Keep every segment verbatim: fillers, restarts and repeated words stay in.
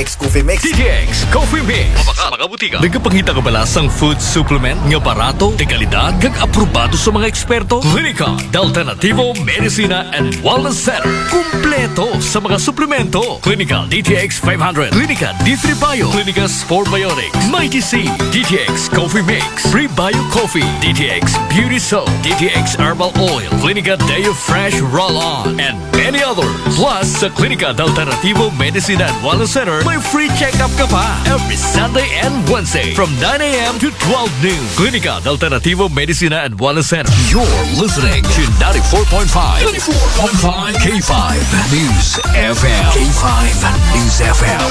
Coffee Mix. D T X Coffee Mix. Sa mga butika. Nagapangita ka ba sa food supplement nga barato, de kalidad, kag aprobado sa mga eksperto? Klinika de Alternativo Medicina and Wellness Center. Kumpleto sa mga suplemento. Klinika D T X five hundred, Klinika D three Bio, Klinika Sport Biotics, Mighty C, D T X Coffee Mix, Prebio Coffee, D T X Beauty Soap, D T X Herbal Oil, Klinika Deo Fresh Roll-On, and many others. Plus, sa Klinika de Alternativo Medicina and Wellness Center, may free check-up ka pa every Sunday and Wednesday from nine a.m. to twelve noon. Klinika de Alternativo Medicina and Wellness Center. You're listening to ninety-four point five, ninety-four point five K five News F M. K five News F M.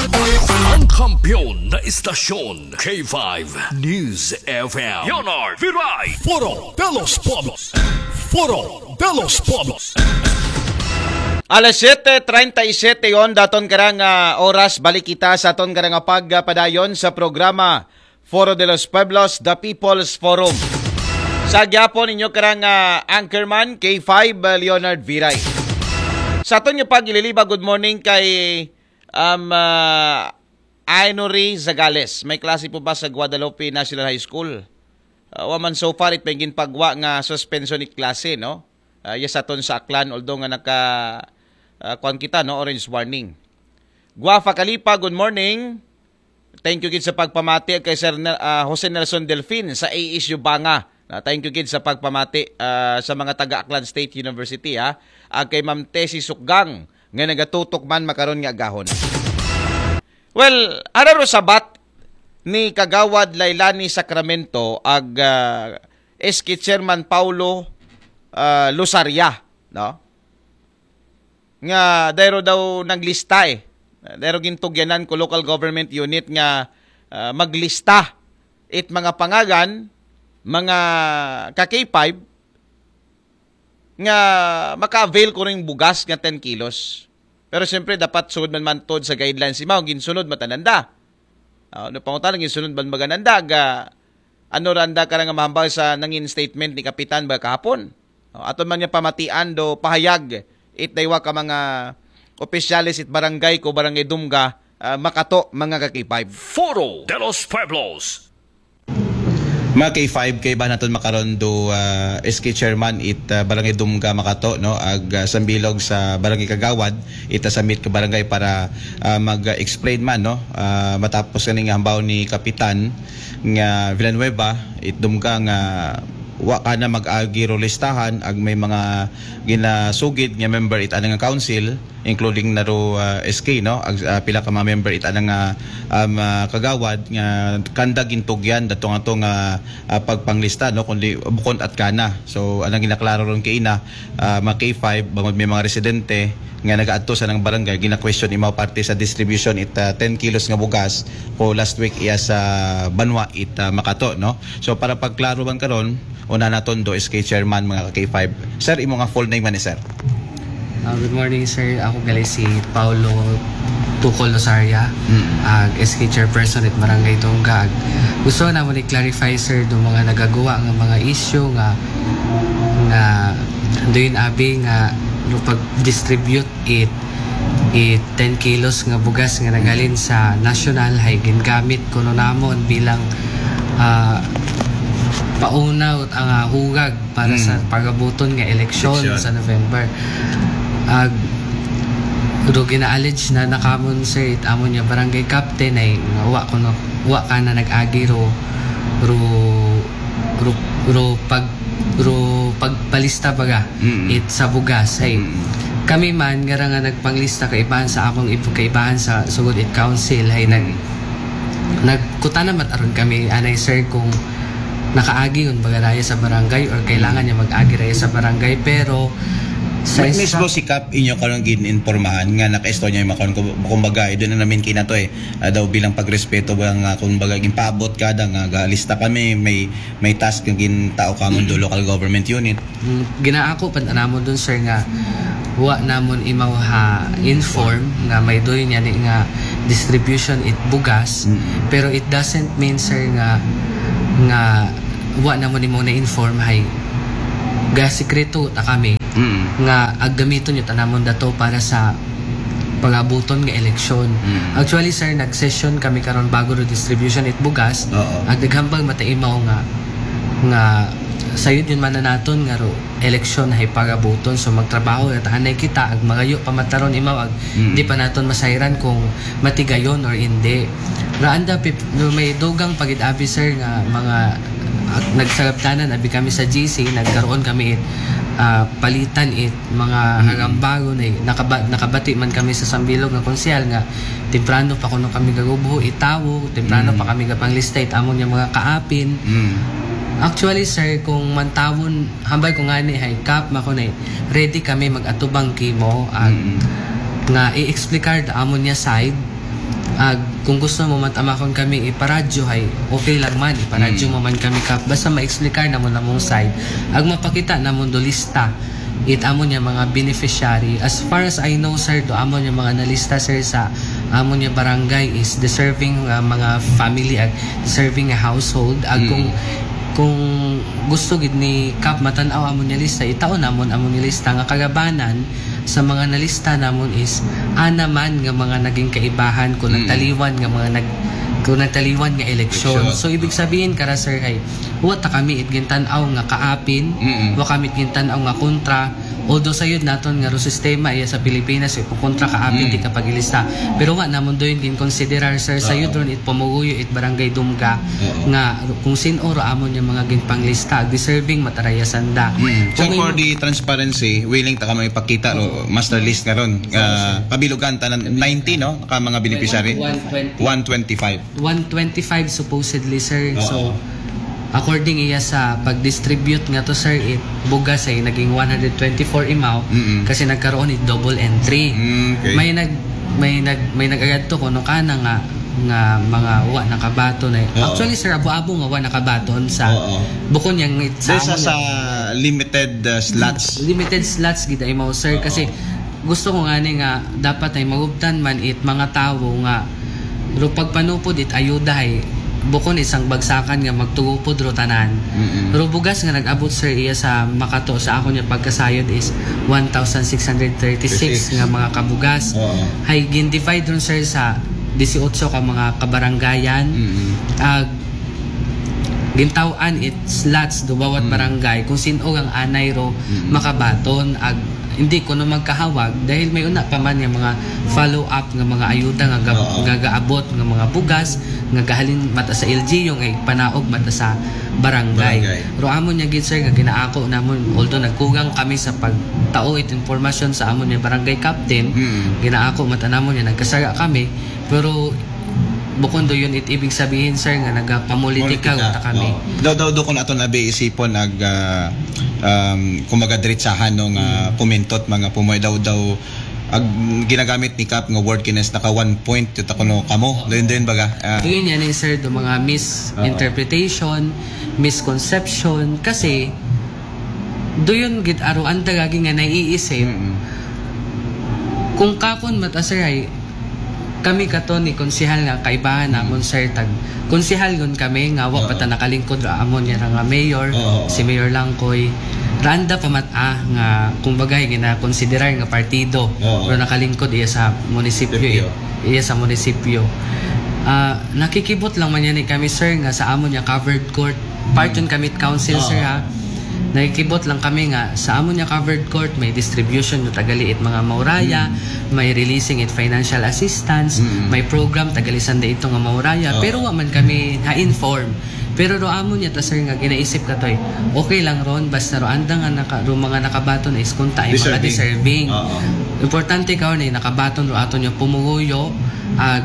Ang kampiyon na istasyon, K five News F M. Leonard Viray. Foro de los Pueblos. Foro de los Pueblos. Alas siete treinta y siete yon daton karang ah, oras, balik kita sa aton karang pagpadayon sa programa Foro de los Pueblos, The People's Forum. Sa gyapon inyo karang ah, anchorman, K five ah, Leonard Viray. Sa aton nga pagililiba, good morning kay um, ah, Ainori Zagales. May klase po ba sa Guadalupe National High School? Uh, wa man so far it may ginpagwa nga suspension it klase, no? Uh, yes, aton sa Aklan, although nga naka uh, kuan kita, no, orange warning. Guafa Kalipa, good morning. Thank you gid sa pagpamati kay Sir Nel, uh, Jose Nelson Delfin sa A S U Banga. Na thank you gid sa pagpamati uh, sa mga taga Aklan State University, ha. Ag kay Ma'am Tessie Sukgang nga nagatutok man makaron nga agahon. Well, ara ro sabat ni Kagawad Lailani Sacramento ag uh, S K Chairman Paulo uh, Lusaria, no? Nga dayro daw naglista eh. Dayro gintugyanan ko local government unit nga uh, maglista it mga pangagan, mga ka K five nga maka-avail ko ring bugas nga ten kilos. Pero siyempre, dapat sugod man mantod sa guidelines imaw, ginsunod matananda. Uh, no pangutana, ginsunod man magananda, ga, ano randa ka nga mahambal sa nangin statement ni Kapitan ba kahapon? Uh, aton man niya pamatian do pahayag, it daywa ka mga opisyales it barangay ko, barangay Dumga, uh, makato, mga ka K five. Foro de los Pueblos. Mga K five, kay ba naton makaron do uh, S K chairman it uh, Barangay Dumga Makato, no, ag uh, sambilog sa Barangay Kagawad, ita sa mit ka barangay para uh, mag-explain man, no, uh, matapos kaning hambaw ni Kapitan nga Villanueva it Dumga nga wa ka na mag-agi ro listahan ag may mga ginasugid nga member it anang council, including na ro uh, S K, no, ag uh, pila ka mga member it anang uh, um, uh, kagawad nga kanda gintugyan datong ato nga uh, pagpanglista, no, kundi bukon at kana. So anang ginaklaro ron kay ina uh, mga K five bangod may mga residente nga nagaadto sa nang barangay gina-question imaw parte sa distribution it uh, ten kilos nga bugas ko last week iya sa banwa it uh, Makato, no. So para pagklaro man karon, una naton do S K chairman mga K five. Sir, imo nga full name man ni sir? Uh, good morning, sir. Ako gali si Paulo Tucol Losaria, ag S K chairperson it Barangay Dumga. Ag gusto namon i-clarify, sir, do mga nagaguwa nga mga issue nga nga doon abi nga no pag-distribute it it ten kilos nga bugas nga nagalin sa national hay gingamit kuno namon bilang ah, pauna ot ang ah, hugag para sa pagabuton nga eleksyon Eleksyon. Sa November. Ag do gina-allege na nakamon, sir, it amon nga barangay captain ay nga wa kuno, wa ka na nag-agi ro ro ro, ro pag ro pagpalista baga Mm. it sa bugas ay Mm. kami man nga ra nga nagpanglista kaibahan sa among ib- kaibahan sa sugod it council ay nag nagkutana man aron kami anay, sir, kung nakaagi yun baga raya sa barangay or kailangan niya mag-agi raya sa barangay, pero sa May instru- mismo si Kap inyo karon gin-informahan nga nakaistorya yung makon, kumbaga, doon na namin kinato eh. Ah, daw bilang pagrespeto ba nga, kumbaga, ginpaabot ka da nga galista kami, may may task nga gintao ka do local government unit. Mm, ginaako pa namon dun, sir, nga wa namon imaw ha inform nga may doy niya ni nga distribution it bugas, Mm. pero it doesn't mean, sir, nga nga wa namon imaw na inform hay gasikreto ta kami Mm. nga aggamiton yun ta namon dato para sa pagabuton nga eleksyon. Mm. Actually, sir, nag-session kami karon bago ro distribution it bugas. Oo. Ag naghambal man ta imaw nga nga sayod yun man na naton nga ro eleksyon hay pagabuton, so magtrabaho at anay kita ag magayo pa man ta ron imaw ag Mm. di pa naton masayran kung matigayon or hindi. Raanda pip, no, may dugang pagid abi, sir, nga mga ag, nagsagabtanan abi kami sa G C, nagkaroon kami it ah, palitan it mga Mm. hagambagon ay nakaba, nakabati man kami sa Sambilog nga konsehal nga temprano pa kuno kami gagubho itawo, temprano Mm. pa kami gapanglista it amon nga mga kaapin. Mm. Actually, sir, kung mantawon, hambal ko nga ni hay Kap, mako na ready kami mag-atubang kimo ag Mm. nga i-explicar the amon nga side. Ag kung gusto mo matamakon kami iparadyo hay okay lang man, iparadyo Mm. mo man kami, Kap, basta ma-explicar namon among side ag mapakita namon do lista it amon nga mga beneficiary. As far as I know, sir, do amon nga mga nalista, sir, sa amon nga barangay is deserving nga mga family ag deserving nga household. Ag Mm. kung kung gusto gid ni Kap matan-aw amon nga lista, itaon namon amon nga lista nga kagabanan sa mga nalista namon is ana man nga mga naging kaibahan kung Mm. nagtaliwan nga mga nag kung nagtaliwan nga eleksyon. Eleksyon. So ibig sabihin kara, sir, hay wa ta kami it gintan-aw nga kaapin, Mm. wa kami it gintan-aw nga kontra. Although sayod naton nga ro sistema iya sa Pilipinas, eh, kung kontra kaapin Mm. di ka pag-ilista. Pero wa namon doon ginkonsiderar, sir, sayod Oo. ron it pumuguyo it barangay Dumga Oo. nga kung sin-o ro amon nga mga ginpanglista, deserving man ta ra iya sanda. Mm. So Kung for in- the transparency, willing ta ka may pakita ro master list karon. Ah, kabilugan tanan nineteen, no? Ka mga beneficiary. One twenty. One twenty-five. One twenty-five supposedly, sir. Oo. So according iya sa pag-distribute nga to, sir, it bugas ay naging one hundred twenty-four imaw Mm-mm. kasi nagkaroon it double entry. Mm, okay. May nag may nag may nag-agad to kuno kana nga nga mga wa nakabaton ay. Oo. Actually, sir, abo-abo nga wa nakabaton sa Oo. bukon yang it sa Sa, sa, amon sa nga limited uh, slots. Limited slots gid ay mao, sir, Oo. kasi gusto ko nga ni nga dapat ay magubtan man it mga tawo nga ro pagpanupod it ayuda ay bukon isang bagsakan nga magtugupod ro tanan. Mm-mm. Ro bugas nga nag-abot, sir, iya sa makato sa akon nga pagkasayod is one thousand six hundred thirty-six Thirty-six. Nga mga kabugas. Oo. Hay gin-divide ron, sir, sa disiotso ka mga kabarangayan. Mm-mm. Ag gintaw-an it slots do bawat Mm. barangay kung sin-o ang anay ro Mm. makabaton ag hindi kuno magkahawag dahil may una pa man nga mga follow up nga mga ayuda nga, ga- Oo. nga gaabot nga mga bugas nga gahalin mata sa L G U nga ipanaog mata sa barangay. Barangay. Ro amon nga gid, sir, nga ginaako namon, although nagkugang kami sa pagtao it impormasyon sa amon nga barangay captain, Mm. ginaako mata namon nga nagkasara kami, pero bukon do yun it ibig sabihin, sir, nga nagapamulitika ta kami. Oo. Daw daw do kun aton abi isipon ag ah, um, kumbaga diretsahan no nga Mm. komentot mga pumoy daw daw ag ginagamit ni Kap nga word kinis naka one point ito kuno kamo. Dayon dayon baga. Ah, Yun yan eh, sir, do mga misinterpretation, misconception, kasi do yun gid aro ang dagagi nga naiisip. mm-mm. Kung kakon mata, sir, ay kami kato ni konsehal nga kaibahan Mm. namon, sir, tag konsehal gun kami nga wa pa Oo. ta nakalingkod ra amon nga nga mayor, Oo. si Mayor Langkoy. Randa pa mat ah, nga kumbaga ginakonsiderar nga partido. Oo. Pero nakalingkod iya sa munisipyo, Munisipyo. eh. Iya sa munisipyo. Ah, nakikibot lang man yan eh kami, sir, nga sa amon nga covered court. Part yun kami it council, Oo. sir, ha. Nakikibot lang kami nga sa amon nga covered court may distribution no tagali it mga mauraya, Mm. may releasing it financial assistance, Mm. may program tagali sanda ito nga mauraya. Oo. Pero wa man kami ha-inform. Pero ro amon nga ta, sir, nga ginaisip katoy, okay lang ron basta ro anda nga naka, ro mga nakabaton is kunta ay mga Deserving. Deserving. Oo. Importante karon ay nakabaton ro aton nga pumuguyo ag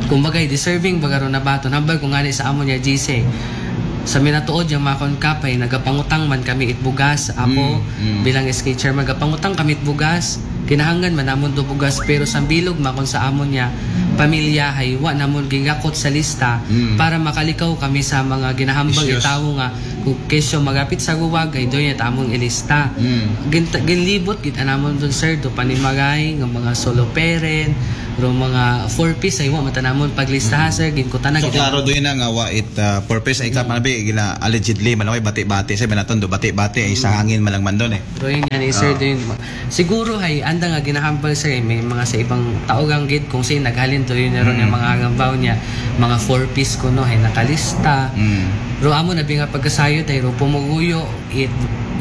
kumbaga deserving baga ro nabaton. Hambal ko nga ni sa amon nga G C, sa minatuod nga makon, Kap, ay nagapangutang man kami it bugas. Ako Mm, mm. bilang S K chairman, nagapangutang kami it bugas. Kinahanglan man namon do bugas, pero sambilog makon sa amon nga pamilya hay wa namon gingakot sa lista Mm. para makalikaw kami sa mga ginahambal Issues. Itawo nga Ug kesyo magapit sa guwag, ay doon yung tamong ilista. Mm. Gin-, ginlibot gid anamon doon, sir, do panimaray nga mga solo parent, ro mga four Ps ay wa matanamon paglistahan, sir, ginkutana So gid. Klaro doon na nga wa it uh, purpose ay ka panabi gina allegedly man, okay, bati-bati sa binaton do, bati-bati ay sa hangin malang man doon eh. Pero yun yan, eh, sir, Ah. doon, siguro ay anda nga ginahambal, sir, eh, may mga sa ibang tao gang gid kung sino naghalin to yun, ron yung mga gambaw niya, mga four Ps kuno ay nakalista. Mm. Pero amo na bi nga pagkasayod ay ro pumuguyo, it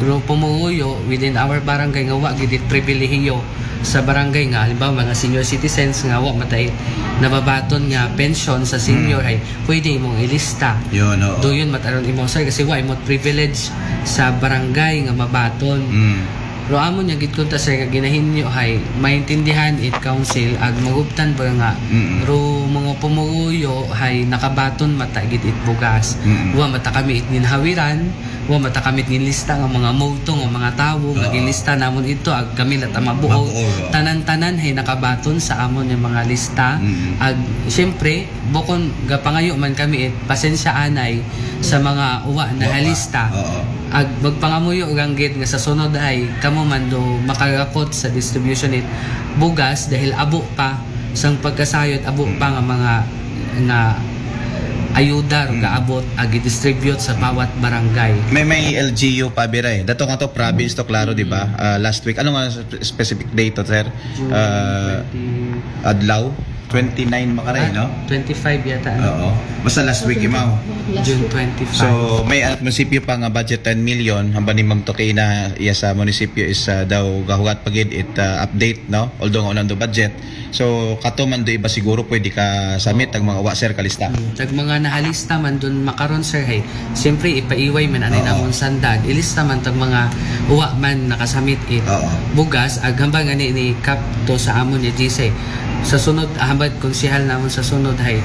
ro pumuguyo within our barangay nga wa gid it pribilehiyo sa barangay nga, halimbawa, mga senior citizens nga wa matay nababaton nga pension sa senior, ay pwede imong ilista. Yun, oo. Do yun mataron imo, sir, kasi wa imong privilege sa barangay nga mabaton. Mm. Pero amo niya gid kunta, sir, nga ginahinyo hay maintindihan it council ag magubtan ba nga Mm. ro mga pumuguyo hay nakabaton mata gid it bugas. Mm. Wa mata kami it ginhawiran, wa mata kami it ginlista nga mga multo nga mga tawo nga Oo. ginlista namon ito ag kami la ta mabuog. Mabuog, oo. Tanan-tanan hay nakabaton sa amon yung mga lista. Mm. Ag siyempre, bukon gapangayo man kami it pasensya anay sa mga uwa na Wa pa. halista. Oo. Ag magpangamuyo ganggit nga sa sunod ay kamo man do makagakot sa distribution it bugas dahil abo pa sang pagkasayod, abo pa nga mga nga ayuda ro gaabot ag i-distribute sa bawat barangay. May may L G U pa bira eh. Dato nga to province to, klaro, di ba? Ah, last week. Ano nga spe- specific date to, sir? June Ah, twenty. Adlaw? Twenty-nine makaray, Ah, no? twenty-five yata, ano? Oo. Basta last week, imaw. June twenty-five. So, may at munisipyo pa nga budget ten million, hamba ni Ma'am Tokina, iya sa munisipyo is ah, daw gahugat pa gid it ah, update, no? Although nga unang do budget. So, kato man do iba siguro pwede ka submit ang mga wa, sir, kalista. Mm, tag mga nahalista man dun makaron, sir, hay. Siyempre, ipaiway man anay Oo. namon sanda. Ilista man tag mga uwa man nakasamit it Oo. bugas, ag hambal nga ni, ni Kap to sa amon ni G C. Sa sunod, hambal konsehal namon sa sunod, hay.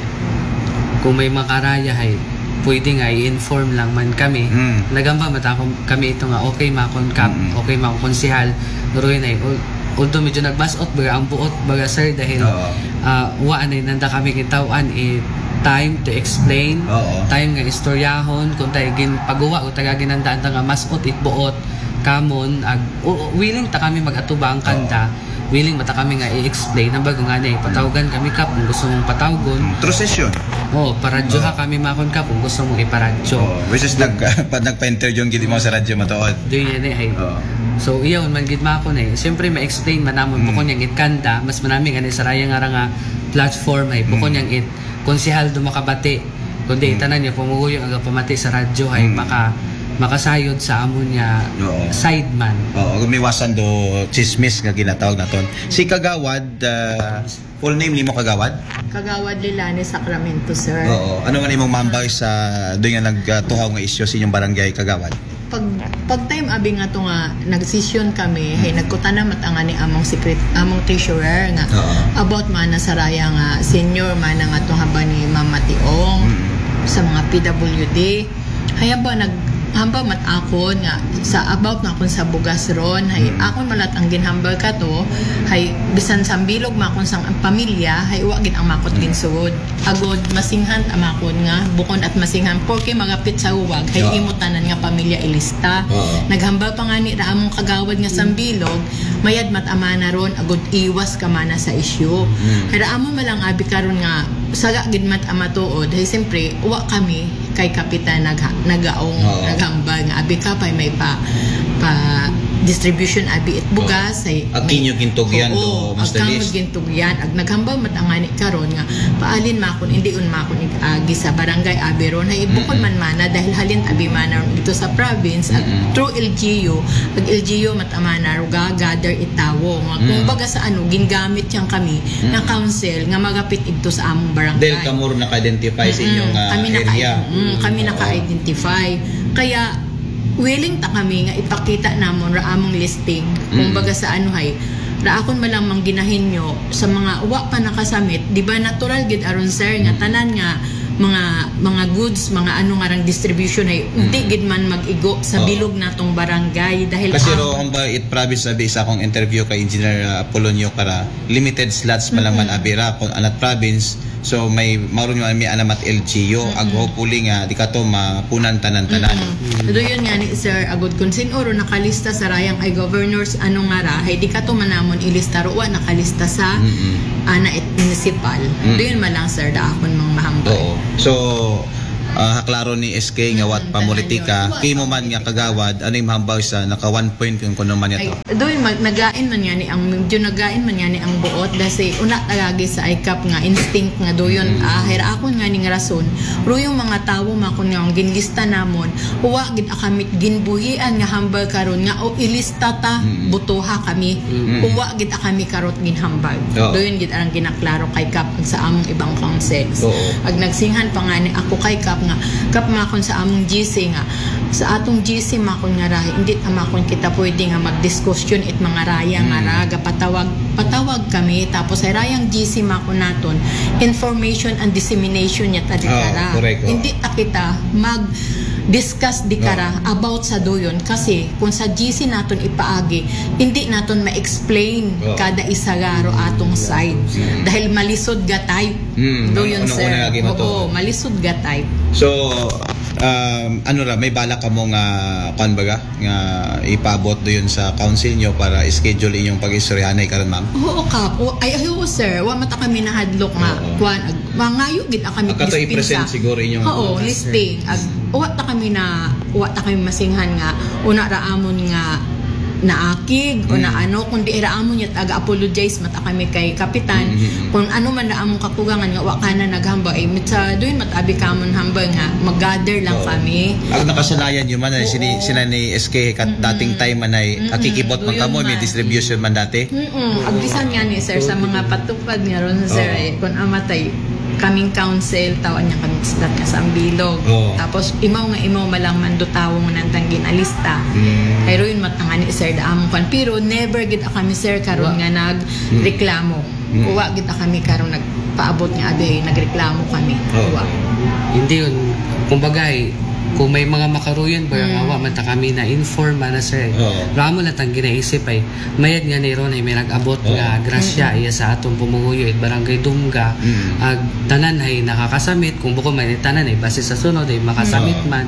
Kung may makaraya, hay, pwede nga i-inform lang man kami. Mm. Nagamba man ta kami ito nga, okay, makon Kap, Mm. okay, makon konsehal. Ruin ay, ul- although medyo nagbasot, baga ang buot, baga, sir, dahil Oo. ah, wa anay nanda kami gintawan, eh, time to explain, Oo. time nga istoryahon, kung tayo gin pagguwa, kung taga ginandaan ta nga mas ot it buot, kamon, ag, o- o- willing ta kami mag-atubang kanda, willing mata kami nga i-explain, ang bago nga na, eh, patawgan kami, Kap, kung gusto mong patawgon. Mm, through session. Oh, paradyoha kami makon, Kap, kung gusto mong iparadyo. Oh, which is nag, pag nagpa-interview ang gili mo sa radyo matuod. Do yun eh. Oo. So, iyaw man gid makon eh. Siyempre, ma-explain man namon Mm. bukon yang it kanda, mas manami nga ni saraya nga ra nga platform ay bukon Mm. yang it konsehal do makabati. Kundi Mm. tanan niya pumuguyo ang pamati sa radyo ay Mm. maka makasayod sa amon niya Oo. side man. Oo, gumiwasan do chismis nga ginatawag naton. Si Kagawad, ah, full name nimo, Kagawad? Kagawad Lilani Sacramento, sir. Oo. Ano nga imong mambay sa doon nga nagtuhaw nga isyu sa inyong barangay, Kagawad? Pag pag time abi nga to nga nagsesyon kami, hay nagkutana mata nga ni among secret, among treasurer nga Oo. about man na saraya nga senior man nga to haba ni Mama Tiong Mm. sa mga P W D. Hay haba nag hamba mat akon nga sa about na akon sa bugas ron, hay Mm. akon malat ang ginhambal ka to, hay bisan sa bilog makon sang pamilya, hay wa gid ang makot ginsud. Agod masinghan ta makon nga bukon at masinghan, porke magapit sa uwag hay Oo. imo tanan nga pamilya ilista. Oo. Naghambal pa nga ni ra among kagawad nga sambilog, mayad mat amana ron agod iwas ka mana sa isyu. Mm. Hay ra amon malang abi karon nga saga gid mat amatuod, hay siyempre wa kami kay kapitan nagha- nagaong Oo. naghambal nga abi ka pay may pa pa distribution abi it bugas, hay Ag kinyo gintugyan Oo, do, Master ag kamo Liz? Tugyan, ag naghambal mat ang ani karon nga paalin makon, hindi un makon ig-agi sa barangay abi ron, hay bukon Mm-mm. Man mana dahil halin abi mana ron ito sa province, ag Mm-mm. Through L G U, ag L G U mat amana ro ga gather itawo nga kung Mm. baga sa ano, gingamit yang kami na Mm. council nga magapit ito sa among barangay. Dahil kamo rin naka-identify sa inyong ah, Mm, kami naka area. Mm, kami Oo. Naka-identify. Kaya willing ta kami nga ipakita namon ra among listing. Kung Mm. Baga sa ano hay, ra akon malamang ginahinyo sa mga wa pa nakasamit, di ba natural gid aron, sir, nga tanan nga mga mga goods, mga ano nga rang distribution hay di gid man mag-igo sa Oo. Bilog natong barangay dahil Kasi ang ro, ang ba it province sabi sa akong interview kay Engineer ah, Apolonio Cara, limited slots pa lang man abira kung anat province. So may maron nga may alamat L G U, ag hopefully nga di kato mapunan tanan-tanan. Doon nga ni sir, agod kung sin-o ro nakalista sa rayang ay governors ano nga ra, hay di kato man namon ilista ro wa nakalista sa ana it municipal. Doon man lang sir da akon mang mahambal. Oo. So ah, haklaro ni S K nga wat pamulitika, kimo man nga kagawad, ano yung mahambal sa naka one point kung kuno man Ay, ito? Doy, mag, nagain man nga ni ang, medyo nagain man nga ni ang buot, dasi una tagagi sa I C A P nga instinct nga doyon, ah, hera akon nga ning rason, ro yung mga tawo makon nga ang ginlista namon, wa gid akamit ginbuhian nga hambal karon nga o ilista ta, butoha kami, o wa gid akami karot ginhambal. Oo. Doyon gid ang ginaklaro kay Kap sa among ibang councils. Oo. Ag nagsinghan pa nga ni ako kay Kap nga, Kap makon sa among G C nga, sa atong G C makon nga ra, hindi ta makon kita pwede nga magdiskusyon it mga raya nga ra, gapatawag, patawag kami, tapos ay rayang G C makon naton, information and dissemination niya ta di Ah, kara. correct, oh. Hindi ta kita mag discuss di kara about sa doyon kasi kung sa G C naton ipaagi, hindi naton ma-explain Oo. kada isa ra ro atong side dahil malisod ga type. Hmm, Doyon, ano, sir. Una lagi Oo, matuod. Malisod ga type. So, um, ano ra, may balak kamo nga, kuan baga, nga ipaabot doon sa council nyo para schedule inyong pag-istoryahanay karon, ma'am? Oo, Kap. O, ay, ay, oo, sir. Wa mata kami nahadlok nga. Oo. Kuan, ag, mangayo gid kami Ag kato dispensa. I-present siguro inyong Oo, listing. Ag, wa ta kami na, wa ta kami masinghan nga, una ra amon nga naakig, o na ano, kundi ra amon yat aga apologize mata kami kay Kapitan. Kung ano man na among kakugangan nga wa ka na naghambal, eh, mitsa doon matabi ka amon hambal nga mag-gather lang kami. Ag nakasanayan nyo man, ay, sini, sina ni S K, kat dating time man ay, akikibot man kamo, may distribution man dati. Mm-mm. Ag bisan nga ni sir sa mga patupad nga ron sir, eh, kung amatay kaming council, tawan niya kami islat nga sa Ambilog. Oo. Tapos, imaw nga imaw malang mando tawong nantang ginalista. Ay, ro yun matanga ni sir da among kwan. Pero never gid kami sir karon nga nagreklamo. Wa gid kami karon nagpaabot nga abi nagreklamo kami. Oo. Wa. Hindi yun. Kumbaga, eh, kung may mga makaruyan, ba nga wa man ta kami na-inform, ana, sir. Oo. Ramo lang tang ginaisip ay, mayad nga ni ron ay may nag-abot nga grasya iya sa atong pumuhuyo it Barangay Dumga. Ag tanan ay nakakasamit, kung bukod man tanan ay base sa sunod ay makasamit man.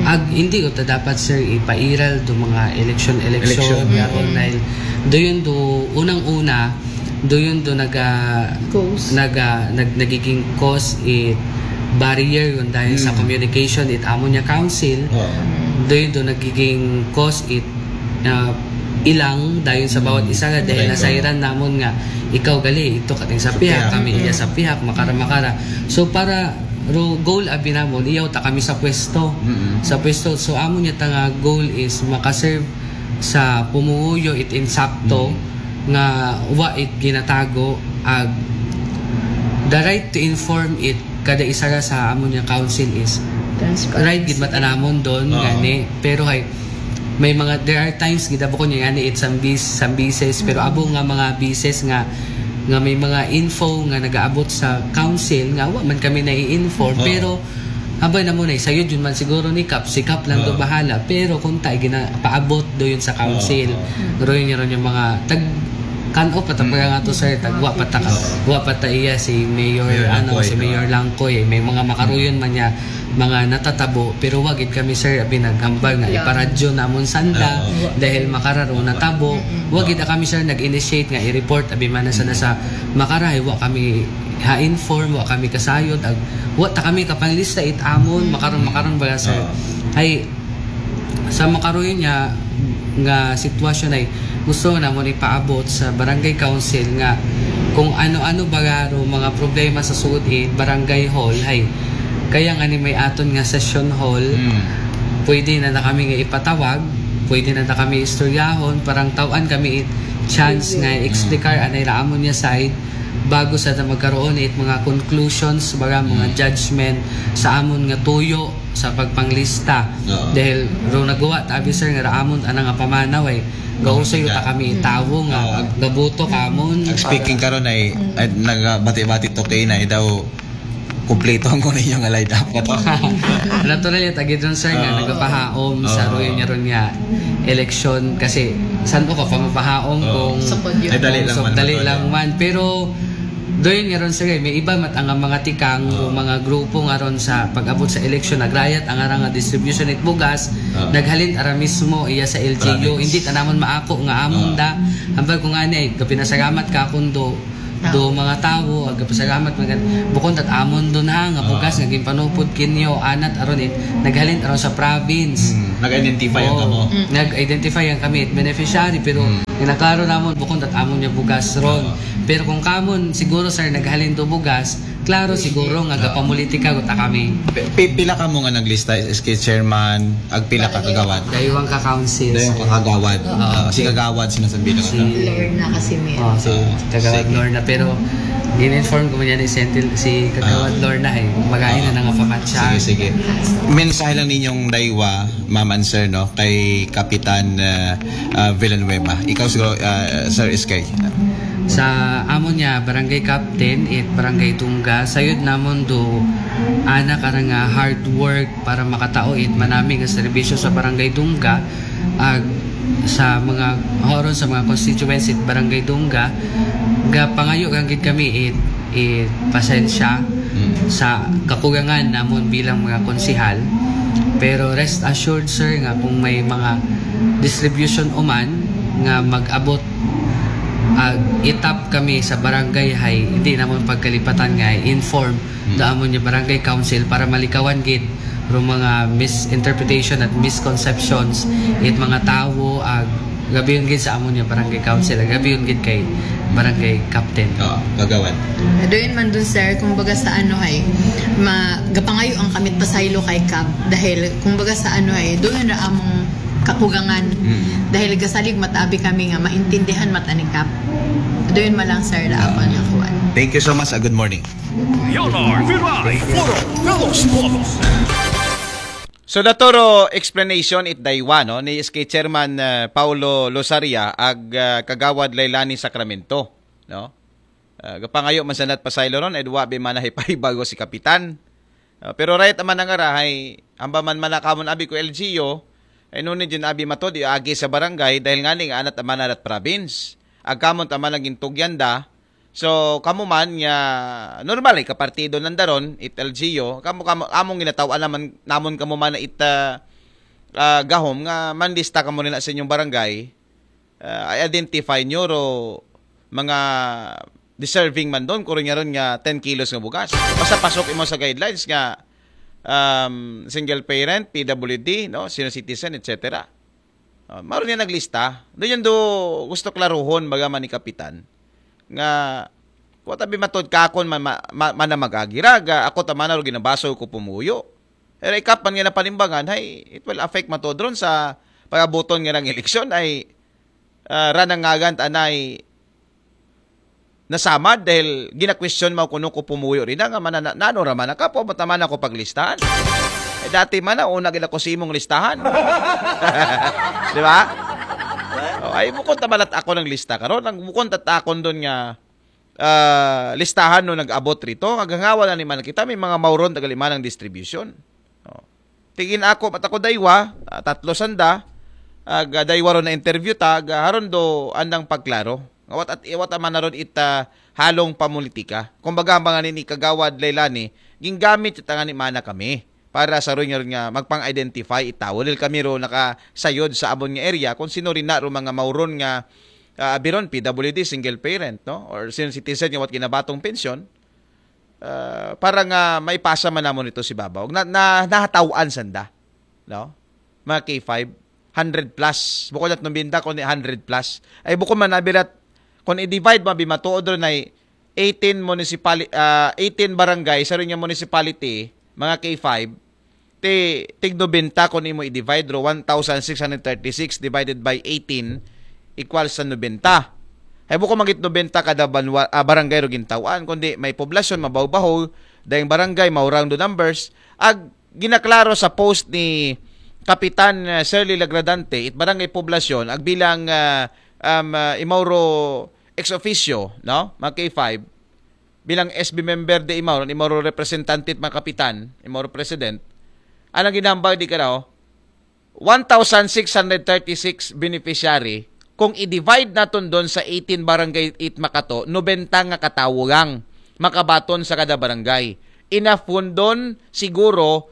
Ag hindi ko ta dapat, sir, ipairal do mga election-election Election. Nga ron dahil doon do unang-una, doon do naga, Cause. naga, nag, nagiging cause it barrier yun dahil sa communication it amon niya council. Oo. Doon do nagiging cause it ah, ilang dayon sa bawat isa nga dahil Right. Nasayran namon nga ikaw gali ito kating sa Sa pihak, pihak. Kami iya sa pihak, makara makara. So para ro goal abi namon, iyaw ta kami sa pwesto. Mm-mm. Sa pwesto, so amo niya ta nga goal is makaserve sa pumuhuyo it insakto nga wa it ginatago ag the right to inform it kada isa ra sa amo niya council is right gid matanamon doon Oo. Gani, pero hay may mga, there are times gid abo ko niya gani it some bis some bises, pero abo nga mga bises nga nga may mga info nga nagaabot sa council nga wa man kami nai-inform. Oo. Pero abay na mo na, sayod yun man siguro ni Kap, si Kap lang do Oo. Bahala, pero kung tayo ginapaabot do yun sa council. Oo. Pero yun yun yung mga tag kan-o pa ta pa nga to, sir, tag wa pa ta, wa pa ta iya si Mayor, Mayor ano, Langkoy, si Mayor oo. Langkoy, eh. May mga makaruyon man niya mga natatabo, pero wa gid kami, sir, abi naghambal nga Yeah. iparadyo namon sanda Oo. dahil makararo natabo. Wa gid kami, sir, nag-initiate nga i-report abi man sa nasa makarahay, wa kami ha-inform, wa kami kasayod, ag wa ta kami kapanglista it amon makaron makaron ba, sir. Oo. Ay sa makaruyon niya nga sitwasyon ay gusto namon ipaabot sa barangay council nga kung ano-ano ba nga ro mga problema sa sugod it barangay hall, hay kaya nga ni may aton nga session hall, Mm. pwede na na kami nga ipatawag, pwede na na kami istoryahon, parang taw-an kami it chance nga explicar anay ra amon niya side bago sa na magkaroon it mga conclusions, baga mga Mm. judgment sa amon nga tuyo sa pagpanglista. Oo. Dahil ro nagawa tabi, sir, nga ra amon ana nga pamanaw ay gausoy ta kami tawo nga Oo. gabuto kamon. Ag speaking karon ay, ay nagabati-bati to kay na daw kumpleto ang kuno yung line up na to. Natural yung tagid ron, sir, nga Oo. nagapahaom sa Oo. ruyo niya ron nga election kasi san o ka pa mapahaom Oo. kung Sukod yun. Ay, dali lang so, man. dali Dali. Lang man. Pero Doon nga ron, sir, may iba mat ang mga tikang o mga grupo nga ron sa pag-abot sa eleksyon, nagrayat ang arang nga distribution it bugas, Ah. naghalin ara mismo iya sa L G U. Province. Hindi ta namon maako nga amon Ah. da. Hambal ko nga ni, ay, kapinasalamat ka kundo do mga tawo, ag kapasalamat mga bukon tat amon doon ha, nga bugas nga ginpanupod kinyo, anat aron it, naghalin aron sa province. Hmm, nag-identify ang Oo. kamo. Nag-identify ang kami it beneficiary, pero ginaklaro namon bukon tat amon niya bugas ron. Oo. Pero kung kamon siguro, sir, naghalin do bugas, klaro siguro nga gapamulitika guta kami. Pi- pi- pila kamo nga naglista, S K chairman, ag pila ka kagawad? Daywang ka council, Daywang sir. ka kagawad. Oo. Ah, si kagawad sinasabi na Si Lorna Casimir. Oh, si Ah, Kagawad sige. Lorna. Pero gin-inform ko man yan ni Sentil, si Kagawad Ah. Lorna ay magain na Ah. nga pamatsa. Sige, sige. Mensahe lang ninyong daywa, ma'am and sir, no, kay Kapitan ah, ah, Villanueva. Ikaw siguro, ah, Sir S K. Sa amo niya, barangay captain, it barangay Dungga, sayod namon do anak ara nga hard work para makatao it manami nga serbisyo sa barangay Dungga, ag sa mga horon sa mga constituents it barangay Dungga, gapangayo lang gid kami it, it pasensya Mm. sa kakulangan namon bilang mga konsehal. Pero rest assured, sir, nga kung may mga distribution uman nga mag-abot ag itap kami sa barangay, hay hindi namon pagkalipatan nga inform do amon niya barangay council para malikawan gid ro mga misinterpretation at misconceptions it mga tawo, ag gabiyon gid sa amon niya barangay council, ag gabiyon gid kay barangay captain. Oo, kagawad. Doon man dun, sir, kumbaga sa ano, hay, ma, gapangayo ang kamit pasaylo kay Kap. Dahil, kumbaga sa ano, hay, doon ra among kakugangan. Mm. Dahil gasalig matabi kami nga maintindihan mata ni Kap. Doon man lang, sir, ra ako nga kuwan. Thank you so much. Ah, good morning. Leonard Viray, Puro Velos Bolos. So, naturo explanation it daywa, no, ni S K Chairman ah, Paulo Losaria ag ah, Kagawad Lailani Sacramento, no? Ah, gapangayo man sanat pasaylo ron, ay duwa bi man ay paibago si Kapitan. Ah, pero right naman ang arahay, hamba man manakamon abi ko L G U, ay nuni din abi matod, iagi sa barangay, dahil nga ni nga anat amanan at province. Agkamon tamanan gintugyan da, so, kamo man nga normal eh, kapartido ng daron, it L G U, kamo, kamo, among ginatawa naman, namon kamo man it ah, ah, gahom nga manlista kamo nila sa inyong barangay, ah, i-identify nyo ro mga deserving man doon, kuro niya ron nga ten kilos nga bugas. Basta pasok imo sa guidelines nga um, single parent, P W D, no, senior citizen, et cetera. Uh, maro niya naglista. Doon yun do gusto klaruhon, baga man ni Kapitan, nga kuwat abi matod kakon man, ma, ma, mana magagiraga, ako tamana ro ginabaso ko pumuyo. Pero ikapan nga napalimbangan, hay, it will affect matod ron sa pagabuton nga ng eleksyon, ay ah, ranangagan tanay nasamad dahil gina-question mo kuno ko pumuyo rin nga manana, nano raman nakapo, mataman ako paglistahan. Eh, dati man na, una gina ko simong listahan. Di ba? Oh, ay, bukod tabalat ako ng lista karon. Ang bukod tatakon doon nga ah, listahan no nag-abot rito. Kagangawa na ni man kita, may mga mauron tagal imanang distribution. Oh. Tigin ako, matako daywa, ah, tatlo sanda, ag ah, daywa ron na interview ta, ag ah, haron do andang pagklaro. Ngawat at iwat man na ron ita halong pamulitika. Kumbaga, ang mga nini Kagawad Lailani, ginggamit ita nga ni mana kami para sa ron nga, ron nga magpang-identify itawo. Dahil kami ro nakasayod sa abon nga area kung sino rin na ro mga mauron nga ah, biron P W D, single parent, no? Or senior citizen nga wat ginabatong pensyon, ah, para nga maipasa man namon ito si Babaw. Na, na, nahatawan sanda, no? Mga K five, hundred plus. Bukod at numbinda, kundi hundred plus. Ay, bukod man nabirat, kung i-divide mo, bimatuod ron ay eighteen municipali-, ah, eighteen barangay sa rin yung municipality, mga K five, ti tig nobenta kun imo i-divide ro, one thousand six hundred thirty-six divided by eighteen equals sa nobenta. Hay buko magit nobenta kada banwa, ah, barangay ro gintawan, kundi may poblasyon mabawbaho, dayang barangay maurang do numbers. Ag ginaklaro sa post ni Kapitan ah, Shirley Lagradante, it barangay poblasyon ag bilang ah, um, ah, imaw ro ex officio, no, mga K five, bilang S B member de imaw, imaw ro representante, mga kapitan, imaw ro president, anang ginambag di ka daw, one thousand six hundred thirty-six beneficiary, kung i-divide naton doon sa eighteen barangay it makato, nobenta nga katawo lang. makabaton sa kada barangay. Inafundon siguro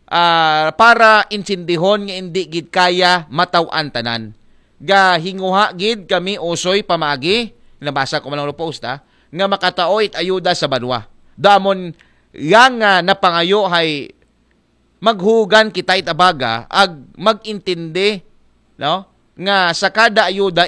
ah, para intindihon nga indi gid kaya mataw-an tanan. Gahinguha gid kami usoy pamaagi, nabasa ko man ang post ha, nga makatao it ayuda sa banwa. Damon yang nga napangayo hay maghugan kita itabaga ag magintindi, no? Nga sa kada ayuda,